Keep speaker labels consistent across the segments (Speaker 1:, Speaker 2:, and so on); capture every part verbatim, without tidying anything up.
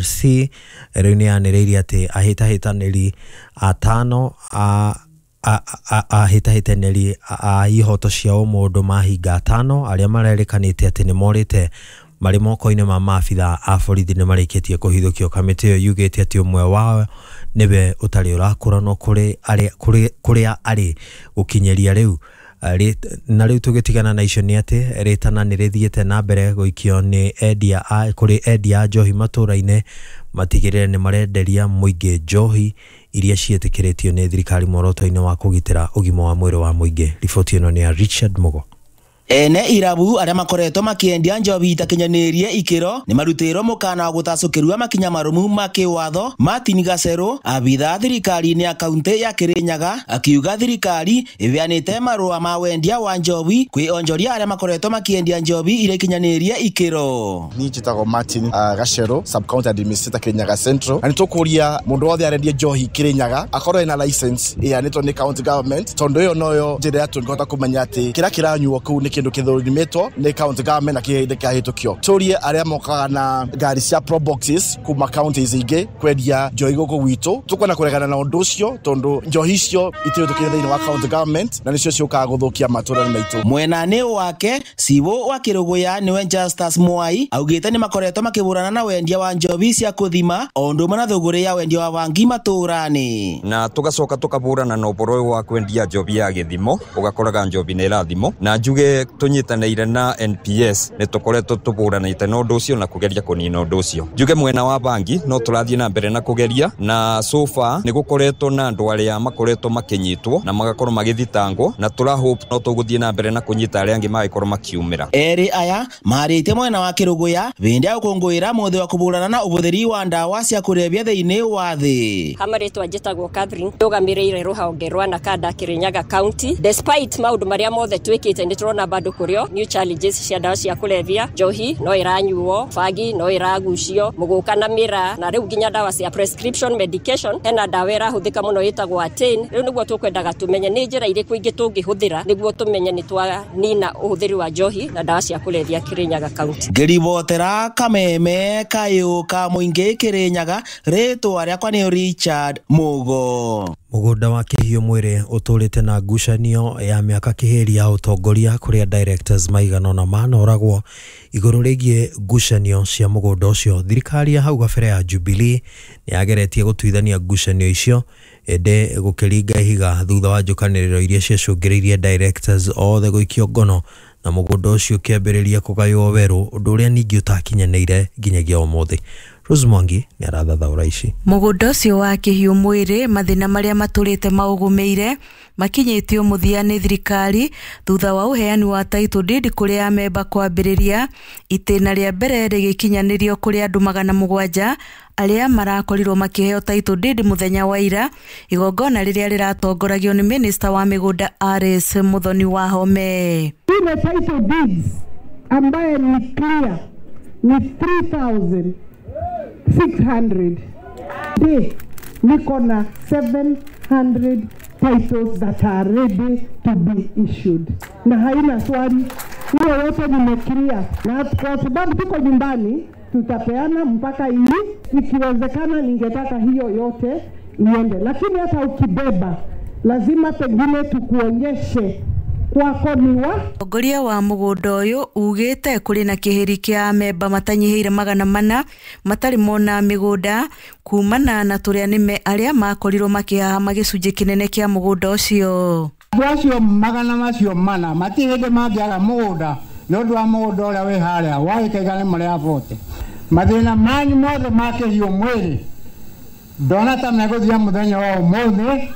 Speaker 1: C rĩu nĩ yanĩrĩire atĩ ahĩtahĩtanĩri atano a ahĩtahĩtanĩri a ihoto cia ũmũndũ mahinga atano arĩa marerĩkanĩte atĩ nĩ morĩte marĩ moko-inĩ ma maabitha a borithi nĩ marĩkĩtie kũhithũkio. Kamĩtĩ ĩyo yugĩte atĩ ũmwe wao nĩwe ũtarĩ ũrakũranwo kũrĩ arĩa kũrĩa arĩ gũkinyĩria rĩu. Na rĩu tũgĩtigana na icio nĩ atĩ rĩtana nĩ rĩthiĩte na mbere gũikio nĩ endia a kũrĩ endia a njohi matũra-inĩ matigĩrĩre nĩ marenderia mũingĩ njohi iria ciĩtĩkĩrĩtio nĩ thirikari muoroto-inĩ wa kũgitĩra ũgima wa mwĩrĩ wa mũingĩ. Riboti ĩno nĩ ya Richard Mugo.
Speaker 2: Ene irabu arĩa makoretwo makĩendia njohi itakinyanĩirie ikĩro nĩ marutĩirwo mũkana wa gũtacũkĩrua makinya marũmu ma kĩwatho. Martin Gacerũ, abithaa thirikari-inĩ ya kaunti ya Kirinyaga, akiuga thirikari ĩheanĩte marũa ma wendia wa njohi kwĩ onjoria arĩa makoretwo makĩendia njohi iria ikinyanĩirie ikĩro.
Speaker 3: Niĩ njĩtagwo Martin uh, Gacerũ, sub county administrator Kirinyaga Central, na nĩtũkũria mũndũ wothe arendia njohi Kirinyaga akorwo ena license ĩheanĩtwo nĩ county government, tondũ ĩyo noyo njĩra tũngĩhota kũmenya atĩ kĩrĩa kĩranyuo kũu nĩ kĩndũ kĩthũrimĩtwo nĩ county government na kĩhĩndĩ kĩahĩtũkio. Tũrie arĩa mokaga na ngari cia pro boxes kuma counties ingĩ kwendia njohi gũkũ gwitũ, tũkwenda kũregana na ũndũ ũcio tondũ njohi icio itirĩtũkire thĩinĩ wa county government na nĩcio ciũkaga gũthũkia matũra maitũ.
Speaker 2: Mwena-inĩ wake Cibũ wa Kĩrũgũya nĩwe Justus Mwai augĩte nĩ makoretwo makĩhũrana na wendia wa njohi cia kũthima o ũndũ ũmwe na thũgũrĩ ya wendia wa bangi matũra-inĩ.
Speaker 4: Na tũgacoka tũkahũrana na ũhoro ũyũ wa kwendia njohi ya gĩthimo, ũgakoraga njohi nĩ ĩrathimwo. Na njuge tunyitanĩire na N P S nĩ tũkoretwo tũhũranĩte na ũndũ ũcio na kũgeria kũnina ũndũ ũcio. Njuge mwena wa bangi no tũrathiĩ na mbere na kũgeria, na so far nĩ gũkoretwo na andũ arĩa makoretwo makĩnyitwo na magakorwo magĩthitangwo, na tũra hope no tũgũthiĩ na mbere na kũnyita arĩa angĩ magĩkorwo makiumĩra.
Speaker 2: Erĩ aya marĩte mwena wa Kĩrũgũya hĩndĩ ya gũkũngũĩra mũthĩ wa kũhũrana na ũhũthĩri wa ndawa cia kũrebia thĩinĩ wa thĩ.
Speaker 5: Hamarĩtwa njĩtagwo Catherine, ndũgamĩrĩire rũhonge rwa Nakada Kirinyaga County. Despite maũndũ marĩa mothe twĩkĩte nĩ tũrona bado kũrĩo new challenges cia ndawa cia kũrebia, njohi no ĩranyuo, bangi no ĩragucio, mũgũka na mĩraa, na rĩu nginya ndawa cia prescription medication. Hena ndawa ĩrahũthĩka mũno ĩtagwo Atane. Rĩu nĩguo tũkwendaga tũmenye nĩ njĩra irĩkũ ingĩ tũngĩhũthĩra nĩguo tũmenye nĩ twanina ũhũthĩri wa njohi na ndawa cia kũrebia Kirinyaga County.
Speaker 2: Ngĩribotera Kameme kayũ ka mũingĩ Kirinyaga, rĩtwa rĩakwa nĩ Richard Mugo.
Speaker 1: Mũgũnda wa Kĩhiũ Mwĩrĩ ũtũrĩte na ngucanio ya mĩaka kĩhĩri ya ũtongoria kũrĩa directors maigana ũna manoragwo igũrũ rĩgiĩ ngucanio cia mũgũnda ũcio. Thirikari ya hau gabere ya Jubilee nĩ yageretie gũtuithania ngucanio icio ĩndĩ gũkĩringa ihiga thutha wa njũkanĩrĩro iria ciacũngĩrĩirie directors othe gũikio ngono na mũgũnda ũcio ũkĩambĩrĩria kũgaywo werũ, ũndũ ũrĩa ningĩ ũtakinyanĩire nginyagia ũmũthĩ. Rose Mwangi nĩ arathathaũra ici.
Speaker 6: Mũgũnda ũcio wa Kĩhiũ Mwĩrĩ mathĩna marĩa matũrĩte maũgũmĩire makinyĩtio mũthia nĩ thirikari thutha wa ũheani wa title deed kũrĩ amemba kwambĩrĩria itĩna rĩa mbere rĩgĩkinyanĩrio kũrĩ andũ magana mũgwanja arĩa marakorirwo makĩheo title deed mũthenya wa ira, igongona rĩrĩa rĩratongoragio nĩ minister wa mĩgũnda Alice Muthoni Wahome.
Speaker 7: Ile title deeds ambaye ni clear ni three thousand six hundred. De, niko na seven hundred titles that are ready to be issued. Na haina swali, hiyo yote nimeclear. Na kwa sababu tuko nyumbani, tutapeana mpaka hii, ikiwezekana ningetaka hiyo yote iende. Lakini hata ukibeba, lazima pengine tukuonyeshe kwako ni wa
Speaker 6: Mũtongoria wa mũgũnda ũyũ ugĩte kũrĩ na kĩhĩri kĩa amemba matanyihĩire magana mana matarĩ mona mĩgũnda kumana na tũrĩa nĩme arĩa makorirwo makĩhahama gĩcunjĩ kĩnene kĩa mũgũnda ũcio.
Speaker 8: Andũ acio magana macio mana matirĩ hĩndĩ mangĩaga mũgũnda nĩ ũndũ wa mũgũnda ũrĩa wĩ harĩa wa gĩkaiga nĩ marĩa bote. Mathĩna manyu mothe ma Kĩhiũ Mwĩrĩ ndona ta megũthira mũthenya wa ũmũthĩ.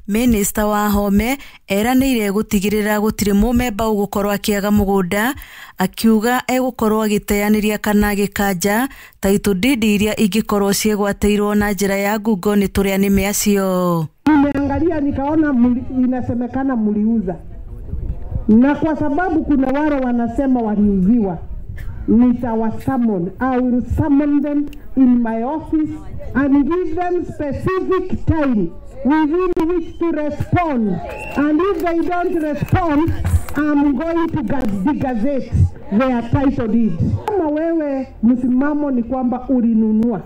Speaker 6: Minista Wahome eranĩire gũtigĩrĩra gũtirĩ mũmemba ũgũkorwo akĩaga mũgũnda, akiuga egũkorwo agĩteanĩria kana agĩkanja title deed iria ingĩkorwo ciĩgwatĩirwo na njĩra ya ngungo nĩ tũrĩa nĩme acio.
Speaker 7: Nimeangalia nikaona muli, inasemekana mliuza, na kwa sababu kuna wale wanasema waliuziwa, nitawasummon. I will summon them in my office and give them specific time within which to respond, and if they don't respond, I'm going to gazette their title deed. Kama wewe msimamo ni kwamba ulinunua,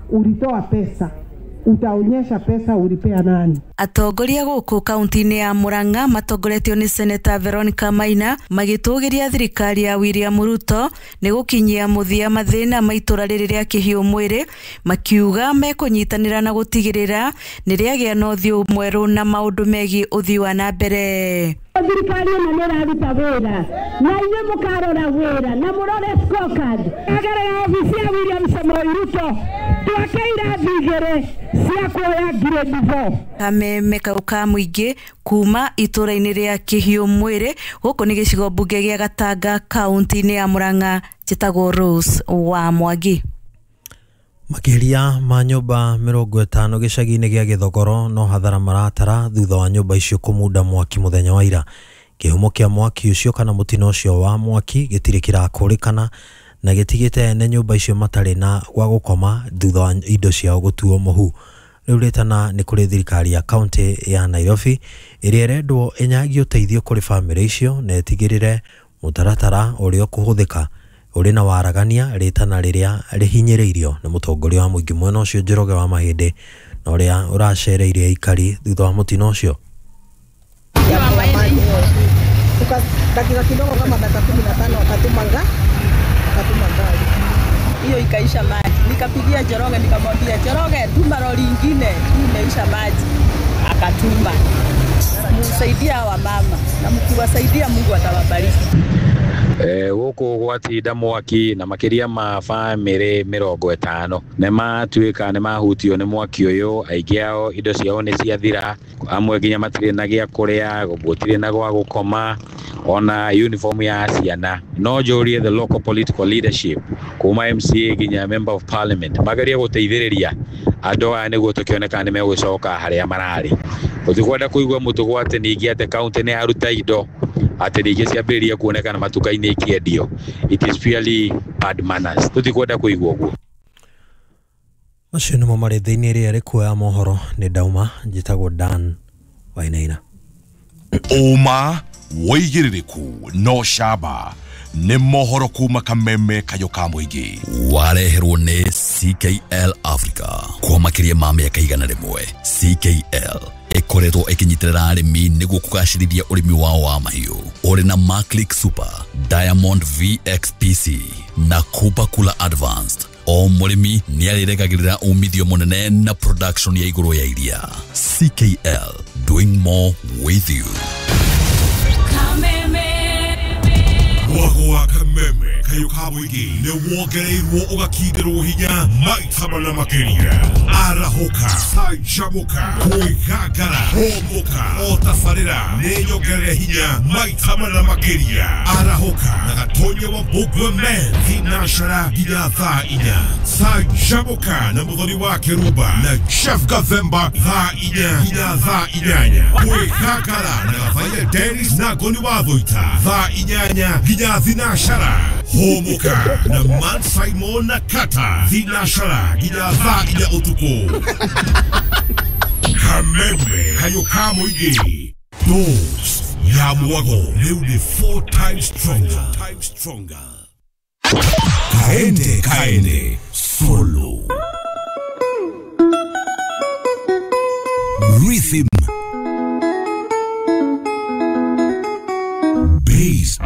Speaker 7: ulitoa pesa, utaonyesha pesa ulipea nani.
Speaker 6: Atongoria gũkũ kaunti-inĩ ya Murang'a matongoretio nĩ Seneta Veronica Maina magĩtũgĩria thirikari ya William Ruto nĩ gũkinyia mũthia mathĩna ma itũra rĩrĩ rĩa kĩhiũ mwĩrĩ, makiuga mekũnyitanĩra na gũtigĩrĩra nĩ rĩagĩa na ũthiũ mwerũ na maũndũ megiĩ ũthii wa na mbere.
Speaker 7: Thirikari ĩno nĩ ĩraruta wĩra na inyuĩ mũkarora wĩra na mũrore scorecard. Agerera obici ya William Samoei Ruto twake irathi igĩrĩ cia kuoya grade four.
Speaker 6: Kameme kau ka mũingĩ kuma itũra-inĩ rĩa kĩhiũ mwĩrĩ gũkũ nĩ gĩcigo mbunge gĩa Gatanga kaunti-inĩ ya Murang'a, njĩtagwo Rose wa Mwangi.
Speaker 1: Makĩria ma nyũmba mĩrongo ĩtano gĩcagi-inĩ gĩa Gĩthogoro no hathara maratara thutha wa nyũmba icio kũmunda mwaki mũthenya wa ira. Kĩhumo kĩa mwaki ũcio kana mũtino ũcio wa mwaki gĩtirĩ kĩrakũrĩkana na gĩtigĩte ene nyũmba icio matarĩ na gwa gũkoma thutha wa indo ciao gũtuo mũhu. Rĩu rĩtana nĩ kũrĩ thirikari ya kaunti ya Nairobi ĩrĩa ĩrendwo ĩnyagie ũteithio kũrĩ bamĩrĩ icio na ĩtigĩrĩre mũtaratara ũrĩa ũkũhũthĩka ũrĩ na waragania, rĩtana rĩrĩa rĩhinyĩrĩirio nĩ mũtongoria wa mũingĩ mwena ũcio Njoroge wa Mahĩndĩ na ũrĩa ũracereire aikari thutha wa mũtino ũcio.
Speaker 9: Dakika kidogo kama dakika kumi na tano wakatuma wakatuma gari hiyo ikaisha maji. Nikapigia Njoroge nikamwambia, Njoroge, tuma lori ingine, hii imeisha maji. Akatuma. Msaidia hawa mama na mkiwasaidia Mungu atawabariki.
Speaker 10: Eh, gũkũ gwatinda mwaki na makĩria ma bamĩrĩ mĩrongo ĩtano nĩ matuĩka nĩ mahutio nĩ mwaki ũyũ. Aingĩ ao indo ciao nĩ ciathira, amwe nginya matirĩ na gĩa kũrĩa, gũtirĩ na gwa gũkoma, ona uniform ya ciana. No njũrie the local political leadership kuma M C A nginya member of parliament magerie gũteithĩrĩria andũ aya nĩguo tũkĩone kana nĩ megũcoka harĩa mararĩ. Tũtikwenda kũigua mũtugo atĩ ningĩ atĩ kaunti nĩ yaruta indo atĩ ningĩ ciambĩrĩria kuonekana matuka-inĩ ikĩendio. It is purely bad manners. Tũtikwenda kũigua ũguo.
Speaker 1: Macio nĩmo marĩ thĩinĩ ĩrĩa ĩrĩ mohoro. Nĩ ndauma, njĩtagwo Dan Wainaina.
Speaker 11: Ũma wĩigĩrĩrĩku no camba nĩ mohoro kuma Kameme kayo ka mũingĩ.
Speaker 12: Wareherwo nĩ C K L Africa kwa makĩria ma mĩaka igana rĩmwe. C K L ĩkoretwo ĩkĩnyitĩrĩra arĩmi nĩguo kũgacĩrithia ũrĩmi wao wa mahiũ. Ũrĩ na Maclick Super, Diamond V X P C na Cooper Cooler Advanced. O mũrĩmi nĩarĩrekagĩrĩra umithio mũnene na production ya igũrũ ya iria. C K L, doing more with you.
Speaker 11: Mwago wa Kameme kayo ka mũingĩ nĩ wongereirwo ũgakindĩrwo hinya maita mana makĩria. Arahũka, canjamũka, kwĩgangara, hũmũka, o tabarĩra nĩ nyongerere hinya maita mana makĩria. Arahũka na Gatonya wa Mbũgua Men thinacara nginya thaa inya. Canjamũka na Mũthoni wa Kĩrumba na Chef Gathemba thaa inya nginya thaa inyanya. Kwĩgangara na Gathaiya Dennis na Ngoni wa Thũita thaa inyanya nginya thinacara. Hũmũka na Man Simon na Kata thinacara nginya thaa inya ũtukũ. Kameme kayo ka mũingĩ. Dose ya mwago rĩu nĩ four times stronger. Stronger. Kaende kaende solo. Rhythm. Bass.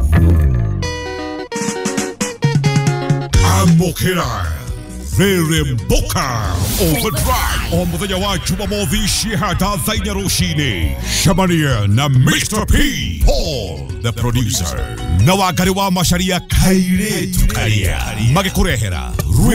Speaker 11: Amokera. Reremboka Overdrive o muthenya wa Jumamothi cihata thaa inya rũcinĩ. Cemania na Mister P Paul the producer na Wangari wa Macharia kairĩtu karia magĩkũrehera rwĩmbo